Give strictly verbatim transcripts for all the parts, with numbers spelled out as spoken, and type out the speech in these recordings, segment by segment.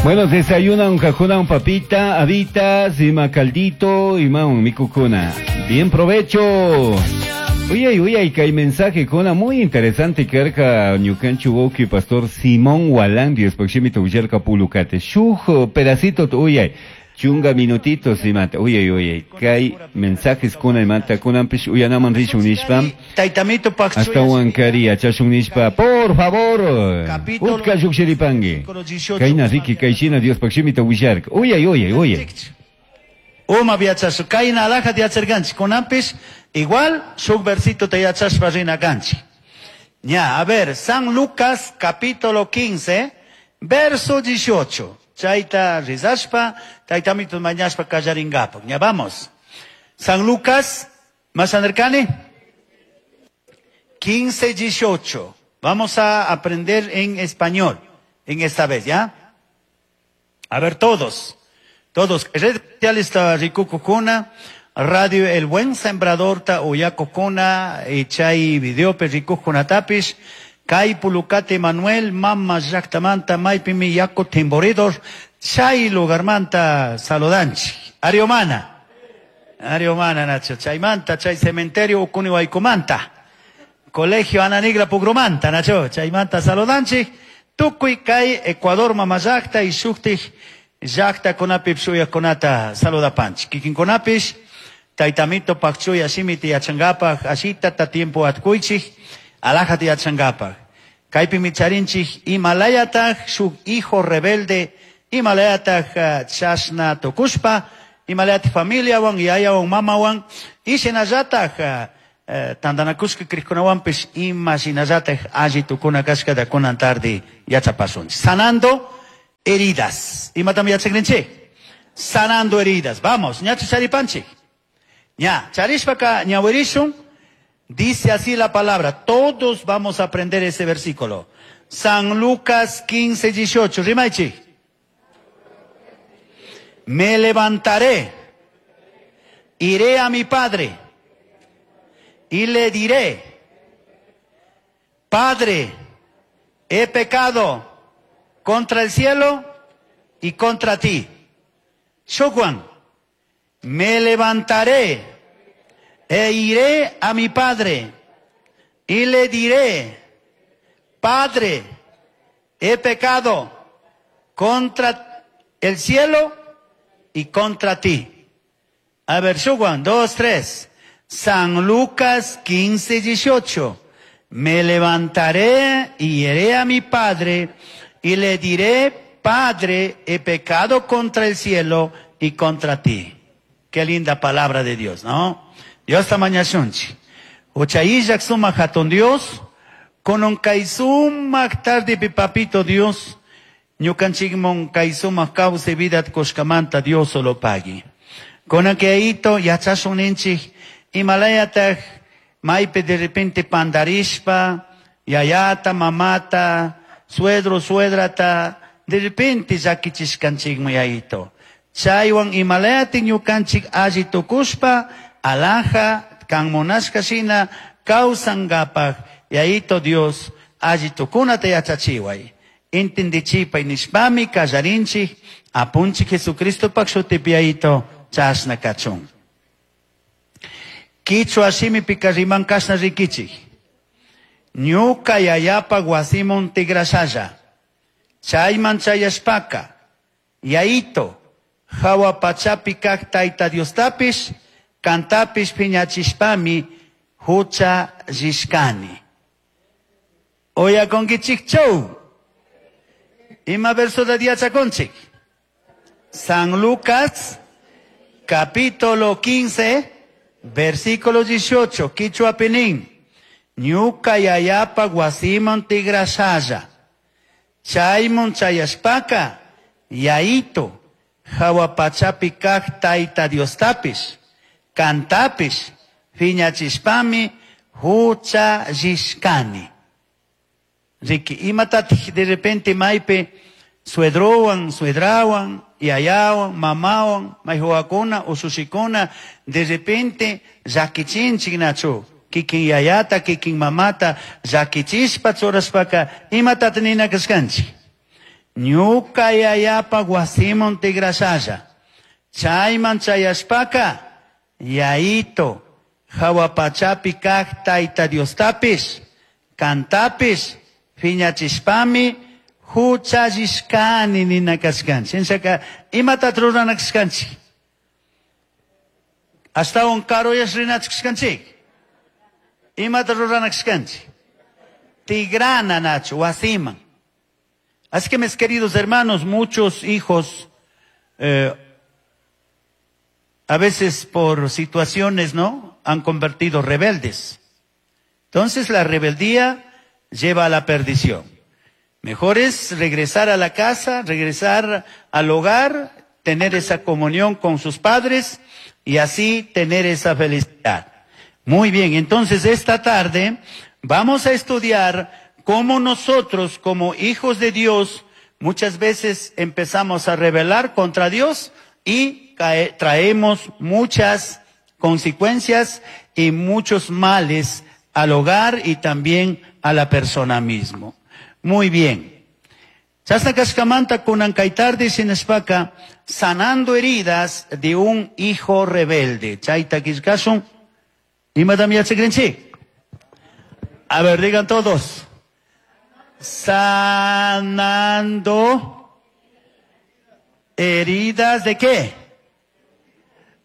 Bueno, desayunan kakunan papita, habitas, ima caldito, ima un mikukuna. Bien provecho. Uy, uy, kay mensaje kuna muy interesante karka ñukanchik wawki pastor Simón Walán Diospaj shimita willarka pulukate. Shuj pedacito uyay. Chunga minutitos imata. Uy, uy, kay mensajes kuna imata kunanpish uyanaman rishun nishpa. Taytamito Ashtawan kari yachashun nishpa. Por favor. Utka llukshiripangi. Kayna riki kayshina Diospaj shimita willarka. Uyay, uyay, uyay. Uma yachashu kayna alajat yacharkanchik kunanpish igual shuk versito te yachashpa rina kanchik. Ña, a ver, San Lucas capítulo quince, verso dieciocho. Chayta rizashpa, taytamito mañashpa kallaringapak. Ña, vamos. San Lucas, más anercani? quince, dieciocho. Vamos a aprender en español, en esta vez, ¿ya? A ver, todos. Todos. Redes sociales está rikukukuna, Radio El Buen Sembrador ta uyakukuna, chay videope rikukunatapish, kay pulukate Manuel, mama llaktamanta, maypimi yaku timboridor, chay lugarmanta saludanchi. Ariomana. Ariomana, Nacho. Chaymanta, chay cementerio ukuni waykumanta. Colegio Ana Nigra Pugrumanta, Nacho. Chaymanta saludanchi. Tukuy kay Ecuador mama llakta y shuktik llakta kunapi shuyakunata saludapanchik. Kikinkunapish, taytamito pakchuya shimiti yachangapak, ashita ta tiempo atkuychik, alajati yachangapak. Kaypimi charinchik imalayataj shuk hijo rebelde, imalayataj uh, chashna tukushpa, imalayataj familiawan, yayawan, mamawan, y shinallataj uh, uh, tandanakushka krikunawanpish ima shinallataj alli tukuna kashkata kunan tarde yachapasunchik. Sanando heridas. Imatam yachakrinchik? Sanando heridas. Vamos, ñachu charipanchik. Ña, charishpaka ñawirishun. Dice así la palabra. Todos vamos a aprender ese versículo. San Lucas quince, dieciocho. Rimaichi. Me levantaré, iré a mi padre y le diré: Padre, he pecado contra el cielo y contra ti. Shokuan, me levantaré e iré a mi padre y le diré: Padre, he pecado contra el cielo y contra ti. A ver, Shuguan, dos, tres. San Lucas quince, dieciocho. Me levantaré y iré a mi padre y le diré: Padre, he pecado contra el cielo y contra ti. Qué linda palabra de Dios, ¿no? Dios tamañashunchi. Uchayillak suma hatun Dios, konon kay sumak tarde pi papito Dios, ñukanchikmon kay sumak kawsay vidat kushkamanta Dios solo pagui. Konan kayito yachashun ninchik, imalayataj maypi de repente pandarishpa, yayata, mamata, suegro, suegrata, de repente llakichishkanchikmi yayito. Chaywan imalayati ñukanchik alli tukushpa, alhaja, kan munashka shina, kawsangapaj, yayito Dios, alli tukunata yachachiway. Entendichipay nishpami kallarinchik, apunchik Jesucristopak shutipi yayito, chashna kachun. Kichwa shimipika riman kashna rikichik. Ñuka yayapa wasimun tigrashalla. Chayman chayashpaka, yayito, hawa pachapi kak tayta Diostapish, kantapish piñachishpami, hucha rishkani. Oya konkichik chow. Ima verso de diachakonchik. San Lucas, capítulo quince, versículo dieciocho, Kichwa pinin. Ñuka yayapa wasiman tigrashalla. Chaymun chayashpaka, yayito, hawa pachapi kak tayta Diostapish, kantapish, piñachishpami, hucha rishkani. Riki, imatatij de repente maype suedrowan, suedrawan, yayawan, mamawan, mayhuakuna, usushikuna, de repente llakichinchik nachu. Kikin yayata, kikin mamata, llakichishpa churashpaka, imatat nina kashkanchik. Ñuka yayapa wasiman tigrashalla. Chayman chayashpaka, yayito, jahua pachapi kaj Tayta Diostapish, kantapish, phiñachishpami, huchallishkani nina kashkanchik. Shinashaka, imatat rurana kashkanchik? Ashtawan karuyash rinachu kashkanchik? Imata rurana kashkanchik? Tigrana nachu, wasiman. Así que, mis queridos hermanos, muchos hijos, eh, a veces por situaciones, ¿no?, han convertido rebeldes. Entonces la rebeldía lleva a la perdición. Mejor es regresar a la casa, regresar al hogar, tener esa comunión con sus padres y así tener esa felicidad. Muy bien, entonces esta tarde vamos a estudiar cómo nosotros, como hijos de Dios, muchas veces empezamos a rebelar contra Dios y cae, traemos muchas consecuencias y muchos males al hogar y también a la persona mismo. Muy bien. Chasna kashkamanta kunan kay tarde shinashpaka, sanando heridas de un hijo rebelde. Chayta killkashun. Imatam yachakrinchik? A ver, digan todos. Sanando heridas de ¿qué?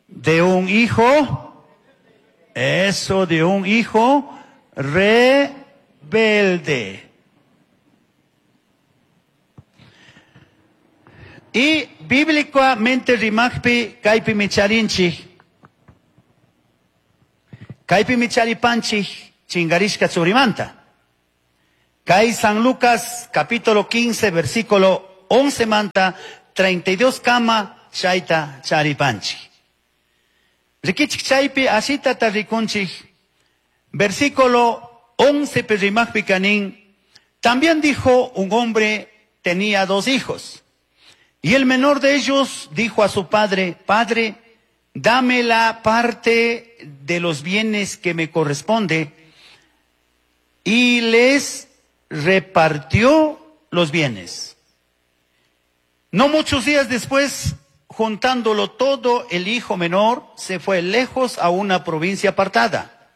De un hijo. Eso, de un hijo rebelde. Y bíblicamente rimajpi kaypi micharinchik, kaypi micharipanchik chingarishka churimanta. Kay San Lucas capítulo quince versículo once manta treinta y dos kama chayta charipanchik. Rikichik chaypi asita rikunchik, versículo once rimajpi kanin, también dijo un hombre tenía dos hijos. Y el menor de ellos dijo a su padre, Padre, dame la parte de los bienes que me corresponde. Y les repartió los bienes. No muchos días después, juntándolo todo, el hijo menor se fue lejos a una provincia apartada.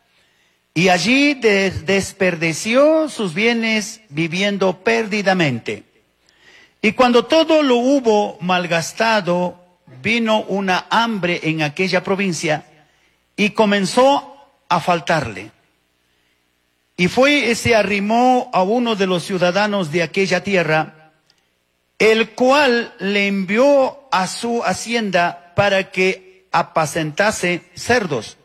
Y allí des- desperdició sus bienes viviendo perdidamente. Y cuando todo lo hubo malgastado, vino una hambre en aquella provincia y comenzó a faltarle. Y fue y se arrimó a uno de los ciudadanos de aquella tierra, el cual le envió a su hacienda para que apacentase cerdos.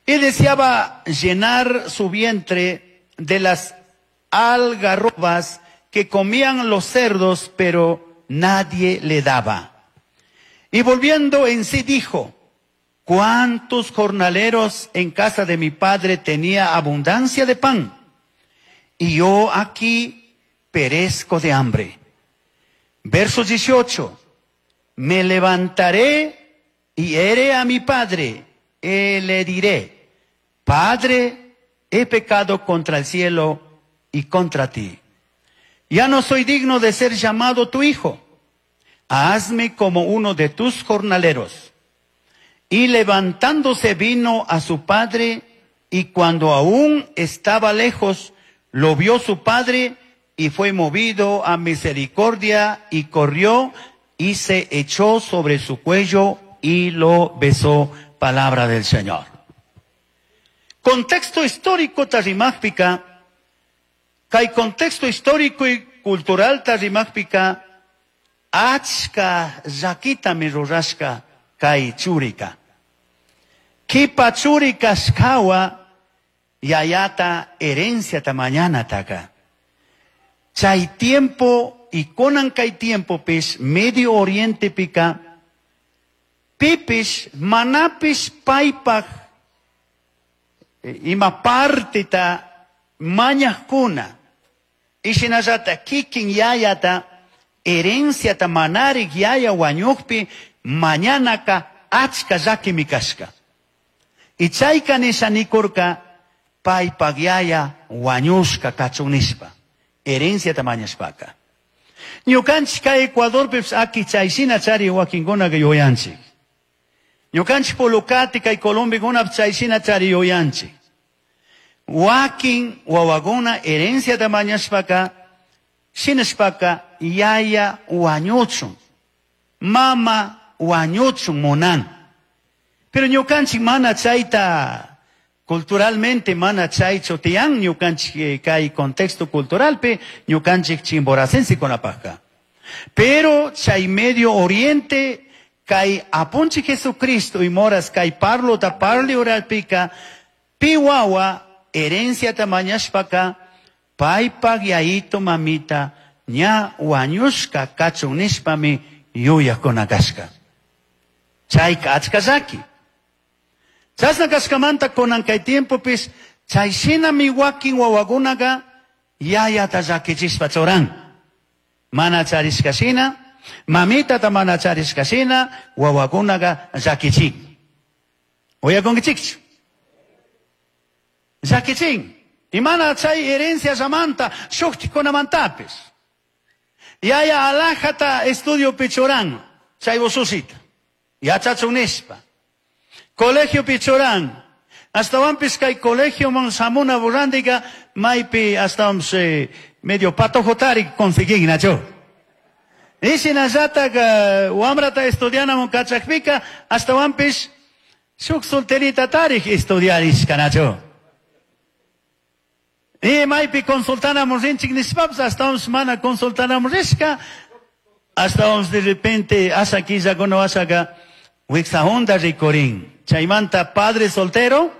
Y deseaba llenar su vientre de las algarrobas que comían los cerdos, pero nadie le daba. Y volviendo en sí dijo, ¿cuántos jornaleros en casa de mi padre tenía abundancia de pan? Y yo aquí perezco de hambre. Verso dieciocho, me levantaré y iré a mi padre, y le diré, Padre, he pecado contra el cielo y contra ti. Ya no soy digno de ser llamado tu hijo. Hazme como uno de tus jornaleros. Y levantándose vino a su padre, y cuando aún estaba lejos, lo vio su padre, y fue movido a misericordia, y corrió, y se echó sobre su cuello, y lo besó. Palabra del Señor. Contexto histórico tarimajpica. Kay contexto histórico y cultural tarimajpika, achka llakitami rurashka kay churika. Kipa churika shkawa yayata herencia mañanataka. Chay tiempo y konan kay tiempo pis Medio Oriente pika, pipish manapish paypaj ima partita mañajkuna, ishinallata kikin yayata, herenciata manarik yaya wañuqpi, mañanaka achka llakimi kashka. Y chayka nisha nikurka, paypaq yaya wañushka kachun nishpa, herenciata mañashpaka. Ñukanchik kay Ecuadorpipish aki chayshina chari wakinkunaqa yuyanchik. Ñukanchik Pulukati kay Colombiakunapish chayshina chari yuyanchik. Wakin wawakuna herenciata mañashpaka shinashpaka yaya wañuchun, mama wañuchun munan. Pero ñukanchik mana chayta culturalmente mana chaychu tiyan ñukanchik kay contexto culturalpi ñukanchik chimboracensekunapajka. Pero chay Medio Oriente kay apunchik Jesucristo y moras kay parlota parli oralpika pi wawa herenciata mañashpaka paypak yayito mamita ña wañushka kachun nishpami yuyakuna kashka. Chayka achka llaki. Chashna kashkamanta kunan kay tiempopis chay shinami wakin wawakunaka yayata llakichishpa churan. Mana charishka shina, mamitata mana charishka shina, wawakunaka llakichin. Uyakunkichikchu? Llakichin. Y mana chay herencia llamanta shuktikunamantapis. Yaya alajata estudio pichuran, chay ususita. Yachachun nishpa. Colegio pichuran. Astawanpis kay colegio man samuna burrandiga maypi astawanpis eh, medio patojotari conseguin nacho. Y shinallataq wamrata estudianamun kachakpika astawanpis shuk solterita tarij estudiarishka nacho. Y maypi consultanamun rinchik nishpapis astawanpis mana consultanamun rishka astawanpis de repente asha killakuna washaka wiksahunda rikurin. Chaymanta padre soltero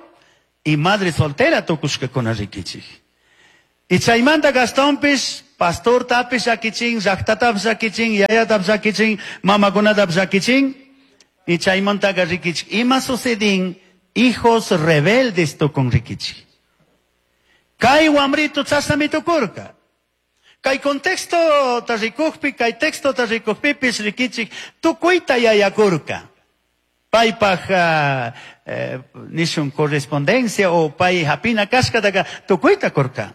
y madre soltera tukushkakuna rikichik. Y chaymanta Gastonpis, pastor tapis llakichin, llaqtatapis llakichin, yayatapis llakichin, mamakunatapis llakichin. Y chaymantaka rikichik. Ima sucedin, hijos rebeldes tukun rikichik. Kay wamrito chashnami tukurka. Kay contexto ta rikukpi, kay texto ta rikukpipis rikichik, tukuyta yayakurka. Paypaj uh, eh, nishun correspondencia o pay hapina kashkataka tukuyta kurka.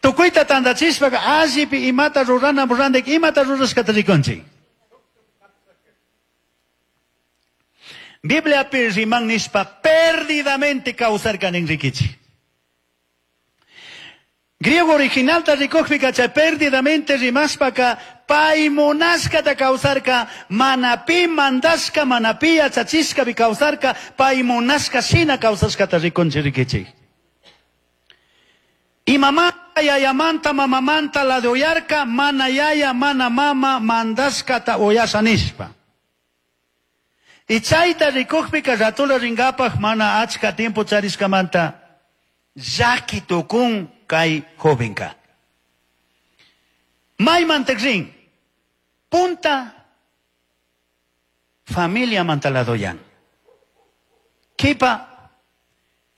Tukuyta tandachishpaka allipi imata rurana rurandek imata rurashkata rikunchik. Bibliapi riman nishpa perdidamente kawsarkan rikichik. Griego original ta rikukpika chay perdidamente rimashpaka pay munashkata kawsarka mana pi mandashka mana pi yachachishkapi kawsarka pay munashka shina kawsashkata rikunchik rikichik. Y mamá yayamanta mamamanta la de oyarka mana yaya mana mama mandashkata oyasha nishpa. Y chayta rikukpika ratula ringapaj mana achka tiempo charishkamanta llaki tukun kay jovenka. Maymanta rin punta familia mantaladoyan. Kipa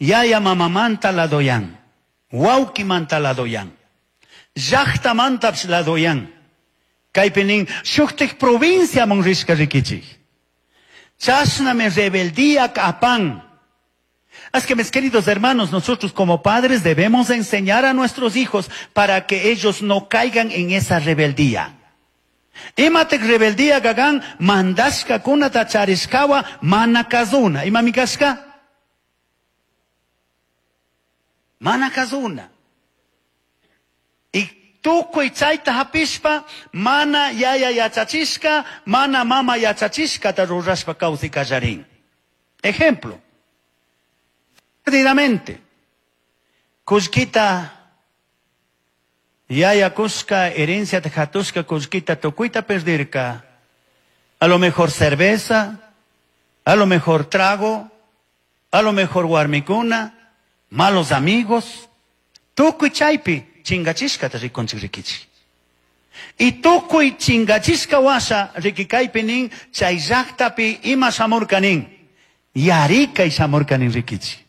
yaya mamamanta ladoyan. Wauki mantaladoyan. Llaqta mantapis ladoyan. Kaypi nin shuktik provincia man rishka rikichik. Chashnami rebeldía apan. Así que mis queridos hermanos, nosotros como padres debemos enseñar a nuestros hijos para que ellos no caigan en esa rebeldía. Imatek rebeldía gagan mandashka kunata charishkawa mana kazuna. Imami kashka? Mana kazuna. Y tukuy chayta hapishpa mana yaya yachachishka, mana mama yachachishka ta rurashpa kawsay kallarin. Ejemplo. Perdidamente. Kullkita yaya kushka herencia hatushka kullkita tukuyta perdirka. A lo mejor cerveza, a lo mejor trago, a lo mejor warmikuna, malos amigos. Tukuy chaypi chingachishkata rikunchik rikichik. Y tukuy chingachishka washa rikikaypi nin chay llaqtapi ima shamurka nin. Yarikay shamurka nin rikichik.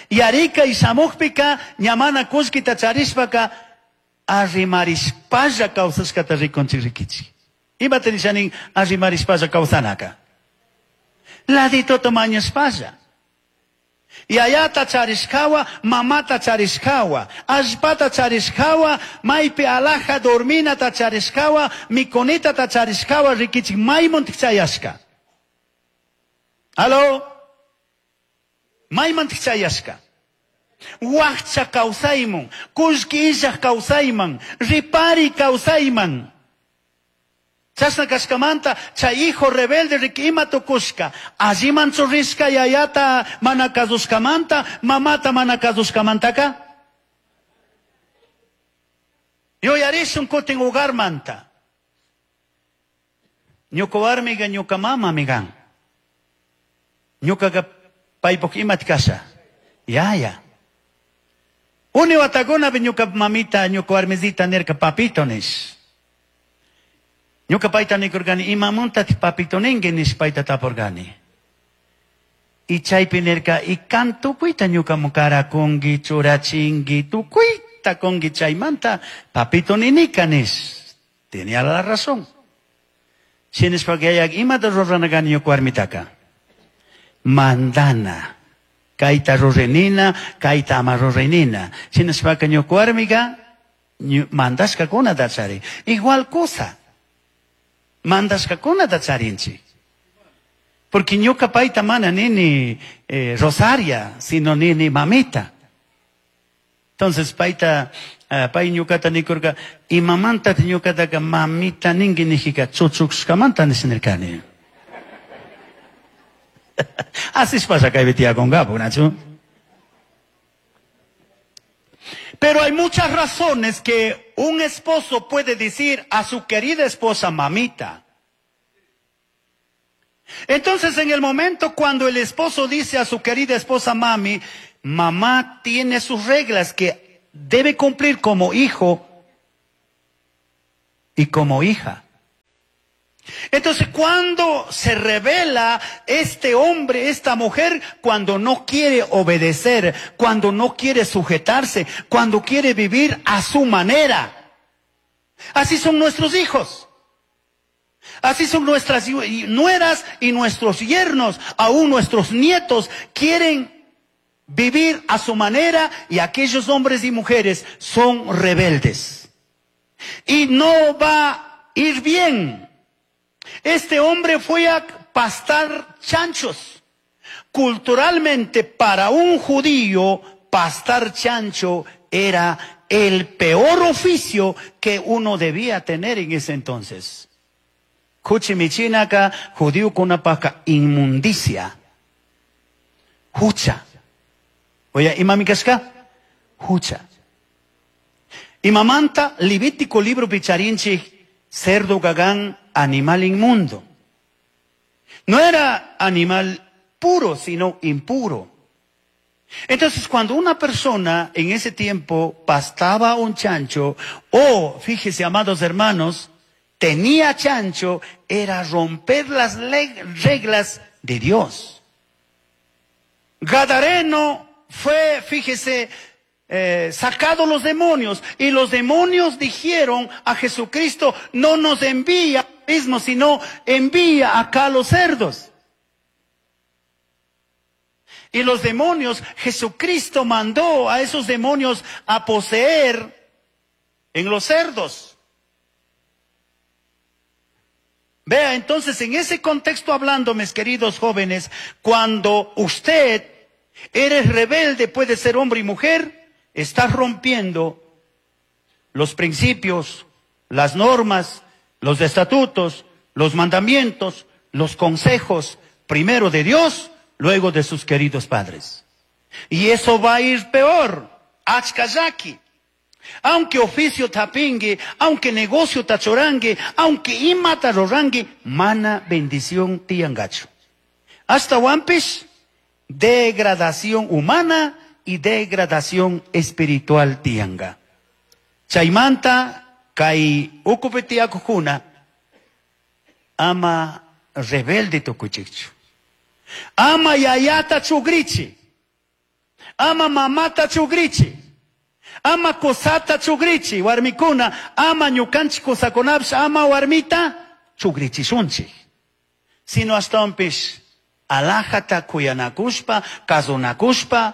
Yarika y shamukpika ñamana kullkita charishpaka arrimarishpalla kawsashkata rikunchik rikichik. Imata nishanin arrimarishpalla kawsanaka. Laditota mañashpalla. Yayata charishkawa, mamata charishkawa, allpata charishkawa, maypi alaja dorminata charishkawa, mikunitata charishkawa, rikichik maymantik chayashka. Aló? Maymantik chayashka. Wakcha kawsayman, kullki illaj kawsayman, ripari kawsayman. Chashna kashkamanta, chay hijo rebelde riki ima tukushka, alliman churishka yayata mana kasushkamanta, mamata mana kasushkamantaka. Yuyarishun kutin hogarmanta. Ñuka warmiga ñuka mamami kan. Ñukaqa paypuk imata kasha. Yaya. Uni watakunapi ñuka mamita, ñuka warmisita nirka papito nish. Ñuka payta nikurkani, imamuntati papito ninki nish payta tapurkani. Y chaypi nirka, y kan tukuyta ñukamun karakunki, churachinki, tukuyta kunki chaymanta, papito ninika nish. Tenía la razón. Shinashpaka yayak imata rurana kani ñuka warmitaka. Mandana. Kayta ruranina, kayta ama ruranina. Shinashpaka ñuka warmika mandashkakunata charin. Igual cosa. Mandashkakunata charinchik. Porque ñuka payta mana nini eh, Rosaria, sino nini mamita. Entonces payta, uh, pay ñukata nikurka, imamanta ñukataka mamita ninki nijika chuchushkamanta nishinirkani. Así pasa kaypi tiyakunkapu, Nacho. Pero hay muchas razones que un esposo puede decir a su querida esposa mamita. Entonces, en el momento cuando el esposo dice a su querida esposa mami, mamá tiene sus reglas que debe cumplir como hijo y como hija. Entonces, cuando se revela este hombre, esta mujer, cuando no quiere obedecer, cuando no quiere sujetarse, cuando quiere vivir a su manera. Así son nuestros hijos. Así son nuestras nueras y nuestros yernos, aún nuestros nietos quieren vivir a su manera, y aquellos hombres y mujeres son rebeldes. Y no va a ir bien. Este hombre fue a pastar chanchos. Culturalmente, para un judío, pastar chancho era el peor oficio que uno debía tener en ese entonces. Kuchimichinaka, judío con una paca, inmundicia. Hucha. Oye, imamikashka? Hucha. Imamanta, Levítico libro picharinchi, cerdo gagán, animal inmundo. No era animal puro, sino impuro. Entonces, cuando una persona en ese tiempo pastaba un chancho, o, fíjese, amados hermanos, tenía chancho, era romper las reglas de Dios. Gadareno fue, fíjese, eh, sacado los demonios, y los demonios dijeron a Jesucristo, no nos envía mismo, sino envía acá a los cerdos. Y los demonios, Jesucristo mandó a esos demonios a poseer en los cerdos. Vea, entonces, en ese contexto hablando, mis queridos jóvenes, cuando usted eres rebelde, puede ser hombre y mujer, estás rompiendo los principios, las normas, los estatutos, los mandamientos, los consejos, primero de Dios, luego de sus queridos padres. Y eso va a ir peor. Achkayaki. Aunque oficio tapingue, aunque negocio tachorangue, aunque imata rorangue, mana bendición tiangacho. Hasta wampis, degradación humana y degradación espiritual tianga. Chaymanta, kay ukupitiakujuna, ama rebelde tukuchichu. Ama yayata chugrichi. Ama mamata chugrichi. Ama kosata chugrichi, warmikuna, ama ñukanchik kosakunapish, ama warmita chugrichishunchik. Sino ashtawanpish Alajata kuyanakushpa, kasunakushpa,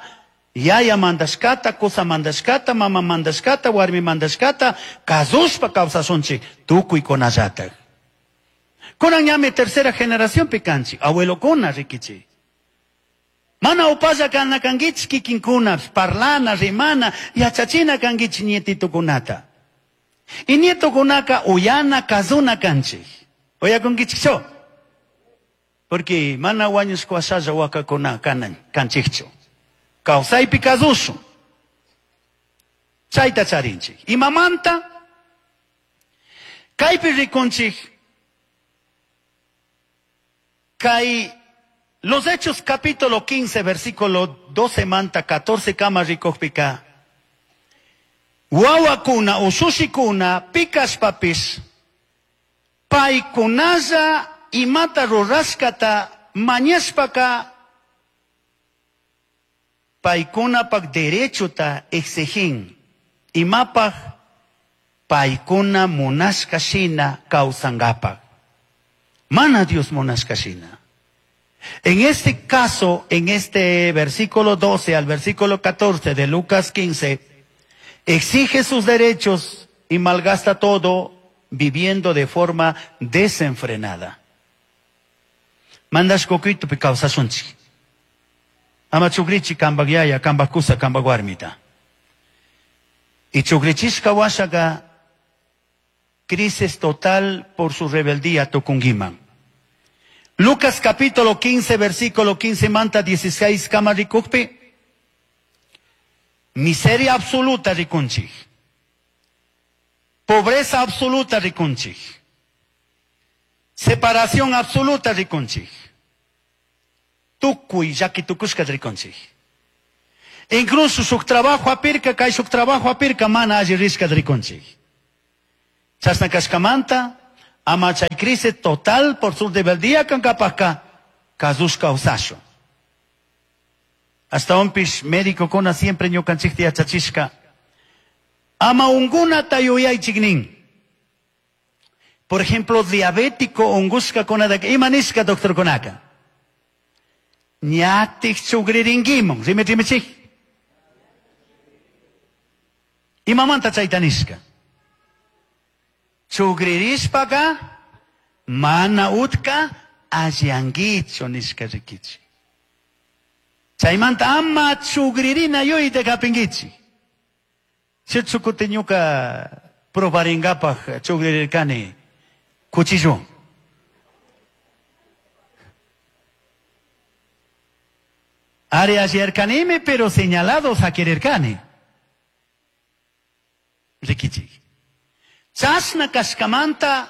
yaya mandashkata, kusa mandashkata, mama mandashkata, warmi mandashkata, kasushpa kawsashunchik tukuykunallatak. Kunan ñami tercera generación kanchik, abuelokuna rikichik. Mana upalla kana kankichik kikinkuna, parlana, rimana, yachachina kankichik nietitukunata. Y nietokunaka uyana, kazuna kanchik. Uyakunkichikchu? Porque mana wañushka washalla wakakuna kanan kanchikchu. Kawsaypi kasushun. Chayta charinchik. Imamanta? Kaypi rikunchik kay Los Hechos capítulo quince versículo doce manta catorce kama rikukpika. Wawakuna ushushikuna pikashpapis paykunalla imata rurashkata mañashpaka paykunapak derechota exigin imapaj paykuna munashka shina kawsankapak. Mana Dios munashka shina. En este caso, en este versículo doce al versículo catorce de Lucas quince, exige sus derechos y malgasta todo viviendo de forma desenfrenada. Mandash kokuytupi kawsashunchik. Ama chukrichi kambak yaya, kambak kusa, kambak warmita. Y chukrichishka washaga crisis total por su rebeldía tukungiman. Lucas capítulo quince, versículo quince, manta dieciséis, kama rikukpi. Miseria absoluta rikunchik. Pobreza absoluta rikunchik. Separación absoluta rikunchik. Tukuy llaki tukushka rikunchik. Incluso shuk trabajo apirka, kay shuk trabajo apirka mana alli rishka rikunchik. Chasna kashkamanta, ama chay crisis total por su rebeldía kankapaka, kasushka usasho. Hasta unpish médico kona siempre ñukanchikta yachachishka. Ama ungunata yuyaychik nin. Por ejemplo, diabético ungushka konadaka, ima nishka doctor konaka. Ñatik chugriringuimon, rime rimichik. Imamanta chayta nishka. Chugririshpaka mana utka allanguicho nishka rikichi. Chaymanta ama chugririna yuyta kapingichi. Chutsukuti ñuka probaringapaj chugririrkani cuchillo. Ari allirkanimi, pero señalados a quererkani. Rikichi. Chasna kashkamanta,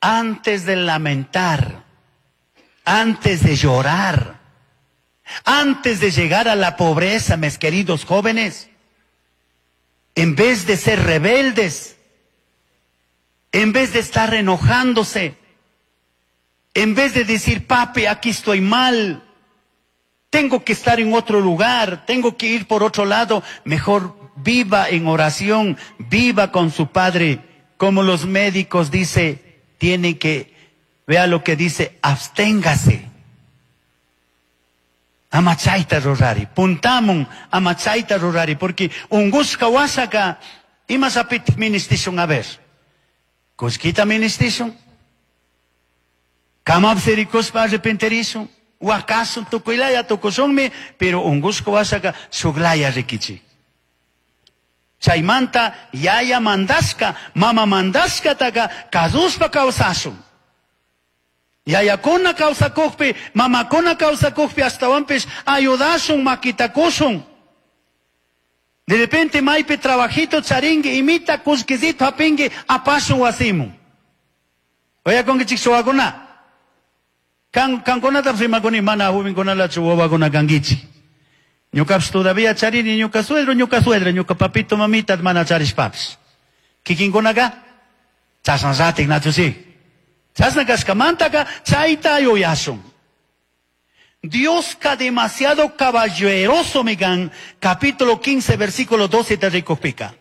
antes de lamentar, antes de llorar, antes de llegar a la pobreza, mis queridos jóvenes, en vez de ser rebeldes, en vez de estar enojándose, en vez de decir, papi, aquí estoy mal, tengo que estar en otro lugar, tengo que ir por otro lado, mejor viva en oración, viva con su padre, como los médicos dice, tienen que, vea lo que dice, absténgase. Amachaita rurari, puntamun amachaita rurari, porque ungushka wasaka, imasapit ministishun a ver. Kushkita ministishun, kamapsirikuspa arrepenterishun, wakasun tukuylaya tukushunmi, pero ungushka wasaka shuglaya rikichi. Chaymanta yaya mandashka, mama mandashka taka kasuspa kawsashun. Yayakuna kawsakukpi, mamakuna kawsakukpi astawanpish ayudashun, makitakushun. De repente maypi trabajito charingi, imita kushkizito hapingi, apashun wasimun. Oyakunkichik suwakuna. Kan kankunata rimakuni mana jovenkunalachu wawakuna kankichik. Ñukapish todavía charini, ñuka suegro, ñuka suegra, ñuka papito, mamita, mana charishpapish. Kikinkunaka, chasnallatik nachusi. Chasna kashkamantaka, chayta yuyashun. Dioska demasiado caballeroso migan, capítulo quince, versículo doce te rikukpika.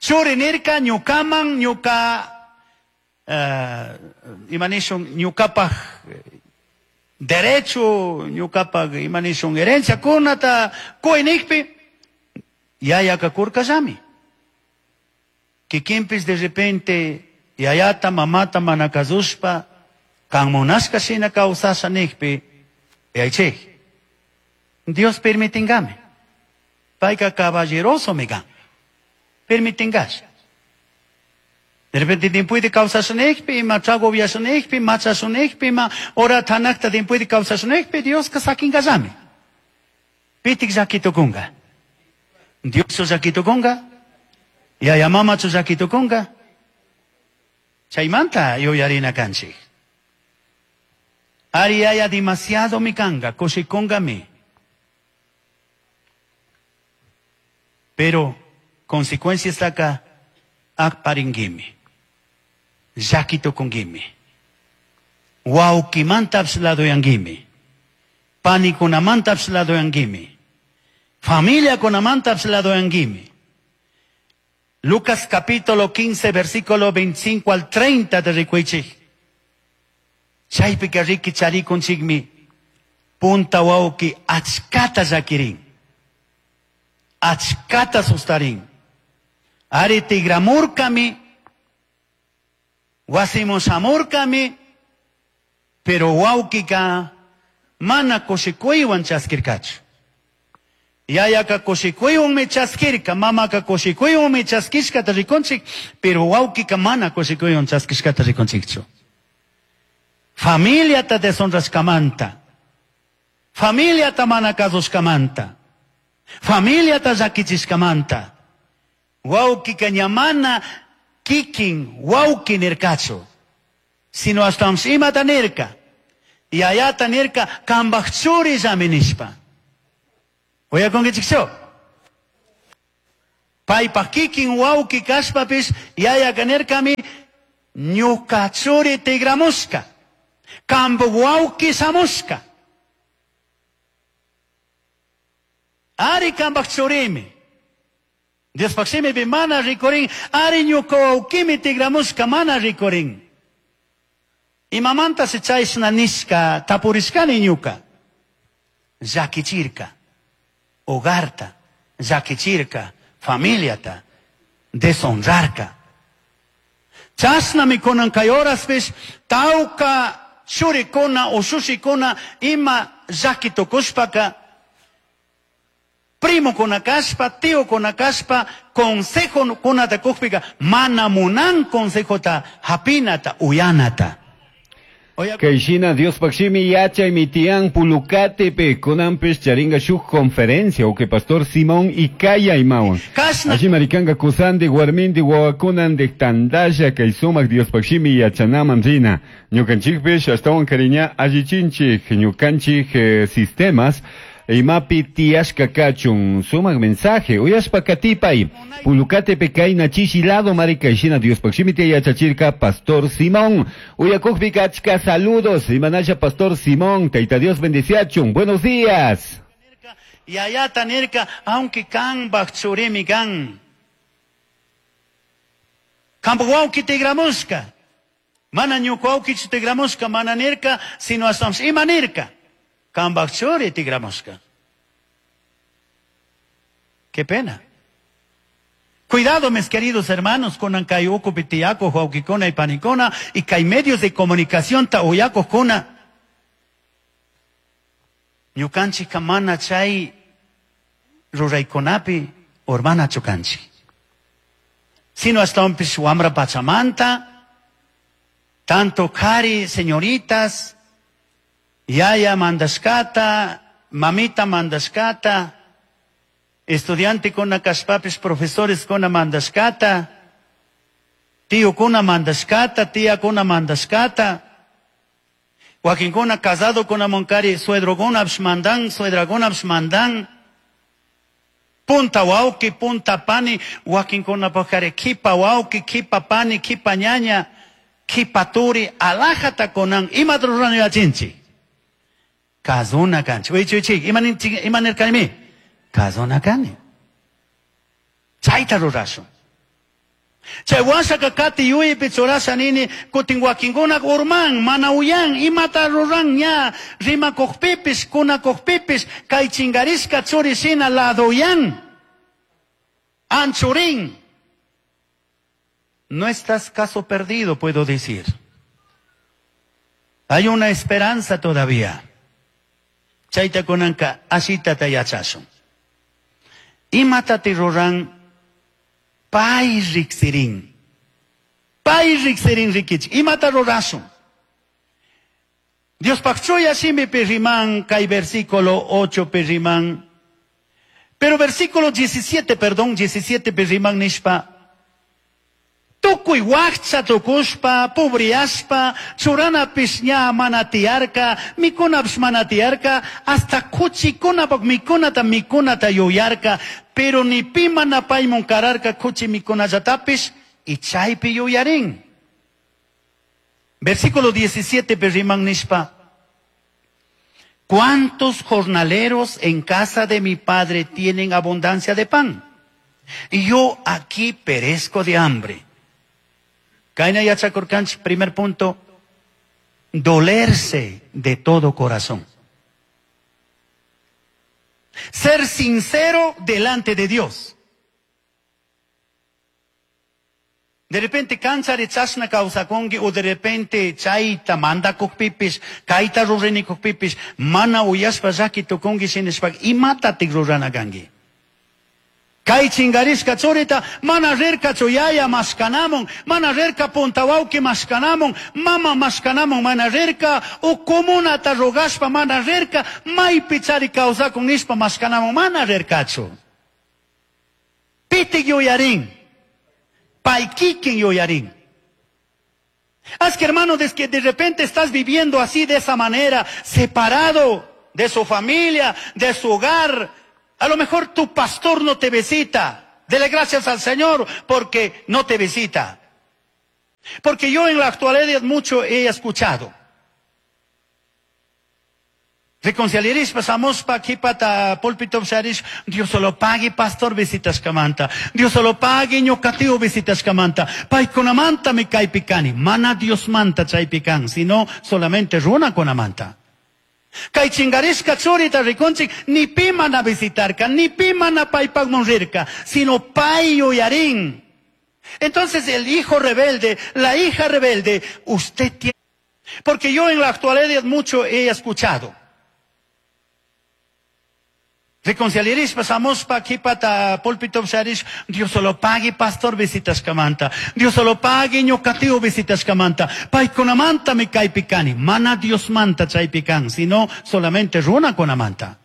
Churi nirka, ñukaman, ñuka uh, imanishun ñuqapaq derecho, ñuqapaq imanishun herencia kunata quy niqpi, yayaka kurkallami. Kikinpis de repente yayata mamata mana kasushpa kan munashka shina kawsasha niqpi, yaychik, Dios permitingami. Payka caballeroso mi kan. Permitingash. De repente timpuyti kawsashunekpi, ima trago upiashunekpi, machashunekpi, ima ora thanakta timpuyti kawsashunekpi, Dioska sakinkallami. Pitik llakitukunka. Dioschu llakitukunka, yaya mamachu llakitukunka. Chaymanta yuyarina kanchik. Ari yaya demasiado mi kanka, kushikunkami. Pero consecuencias taka aparingimi. Llakitukunkimi. Wawkimantapish ladoyankimi. Panikunamantapish ladoyankimi. Familiakunamantapish ladoyankimi. Lucas capítulo quince, versículo veinticinco al treinta de rikuichik. Chaypika riki charikunchikmi. Punta wawki achkata llakirin. Achkata sustarin. Ari tigramurkami. Wasimun shamurkami. Pero wawkika mana kushikuywan chaskirkachu. Yayaka kushikuywanmi chaskirka, mamaka kushikuywanmi chaskishkata rikunchik, pero wawkika mana kushikuywan chaskishkata rikunchikchu. Familiata deshonrashkamanta, familiata mana kasushkamanta, familiata llakichishkamanta, wawkika ña mana kikin wawki nirkachu, sino ashtawanpish imata nirka, yayata nirka kambaj churillami nishpa. Uyakunkichikchu? Paypaj kikin wawki kashpapish yayaka nirkami ñuka churi tigramushka, kambu wawki shamushka. Ari kambaj churimi. Diospaj shimipi mana rikurin, ari ñuka wawkimi tigramushka mana rikurin. Imamanta se chayshna nishka tapurishkani ñuka. Llakichirka. Hogarta, llakichirka, familiata, deshonrarka. Chashnami kunan kay horaspish tawka churikuna ushushikuna ima llakitukushpaka primokuna kashpa, tiokuna kashpa, consejokunata kukpika mana munan consejota hapinata uyanata. Kayshina Diospaj shimi yachay tian Pulucatepe kunanpish charinga shuk conferencia uke pastor Simón Icaya imawan. Allí maricanga kusandi warmindi wawakunandi tandalla kay sumak Diospaj shimi yachanaman rina. Ñukanchikpish ashtawan kariña allichinchik ñukanchik eh, sistemas imapi tiyashka kachun sumak mensaje uyashpa katipay Pulucatepe kayna chishi lado marikayshina Diospaj shimi yachachirka pastor Simón. Uyakukpika achka saludos imanasha pastor Simón, Taita Dios bendeciachun. Buenos días. Yayata nirka aunque kambaj churimi kan kambaj wawki tigramushka mana ñuka wawkichu tigramushka mana nirka sino ashtawanpish ima nirka kambaj churi tigramushka. Qué pena. Cuidado, mis queridos hermanos, con kay ukupi tiyako, wawkikuna y panikuna, y kay medios de comunicación ta uyakojkuna. Ñukanchikka mana chay ruraykunapi urmanachu kanchik. Sino ashtawanpish wamra pachamanta, tanto kari, señoritas, yaya mandashkata, mamita mandashkata, estudiante kuna kashpapis profesores kuna mandashkata, tío kuna mandashkata, tía kuna mandashkata, wakinkuna casado kuna monkari, suedrokunapish mandan, suedrakunapish mandan, punta wawki, punta pani, wakinkunapajkari kipa wawki, kipa pani, kipa ñaña, kipa turi, alajata kunan, imata rurana yachinchik. Kazuna kanchik. Wichi wichi, ima nirkanimi? Kazuna kani. Chayta rurashun. Chay washaka kati yuyaypi churasha nini kutin wakinkuna urman mana uyan imata ruran ña rimakuqpipis kunakuqpipis kay chinkarishka churi shina ladoyan anchurin. No estás caso perdido, puedo decir. Hay una esperanza todavía. Chayta kunanka ashitata yachashun. Imatati ruran pay riksirin. Pay riksirin rikich. Imata rurashun. Diospaj chuya shimipi riman kay versículo ocho pi riman. Pero versículo diecisiete, perdón, diecisiete pi riman nishpa. Tukuy wakcha tukushpa, pobreyashpa, churanapish ña mana tiyarka, mikunapish mana tiyarka, hasta kuchikunapak mikunata mikunata yuyarka, pero ni pi mana paymun kararka kuchi mikunallatapish, y chaypi yuyarin. Versículo diecisiete pi riman nishpa. ¿Cuántos jornaleros en casa de mi padre tienen abundancia de pan? Y yo aquí perezco de hambre. Kayna yachakurkanchik, primer punto, dolerse de todo corazón. Ser sincero delante de Dios. De repente kanchari chashna kawsakunki o de repente chayta mandakuqpipis, kayta ruranikuqpipis, mana uyashpa llaki tukunki shinashpa imatatik rurana kanki. Kay chingarishka churita mana rirkachu yaya mashkanamun, mana rirka punta wawqi mashkanamun, mama mashkanamun mana rirka, u comunata rogashpa mana rirka, maypi chari kawsakun nishpa mashkanamun mana rirkachu. Pitik yuyarin, pay kikin yuyarin. Haz que hermano, desde que de repente estás viviendo así de esa manera, separado de su familia, de su hogar. A lo mejor tu pastor no te visita. Dele gracias al Señor porque no te visita. Porque yo en la actualidad mucho he escuchado. Reconciliaris pasamos pa aquí pata púlpito sharish. Dios solo pague pastor visitas kamanta. Dios solo pague ñocatio visitas kamanta. Paykunamanta me caipicani. Mana Dios manta chaypican, sino solamente runa conamanta. Kay chingarishka churita rikunchik, ni pi mana visitarka, ni pi mana paypaqman rirka, sino pay yuyarin. Entonces el hijo rebelde, la hija rebelde, usted tiene... Porque yo en la actualidad mucho he escuchado. Reconciliaris pasamos pa aquí pata púlpito sharish. Dios solo pague pastor visitas kamanta. Dios solo pague ñocatio visitas kamanta. Paykunamanta me caipicani. Mana Dios manta chaypican, sino solamente runa conamanta.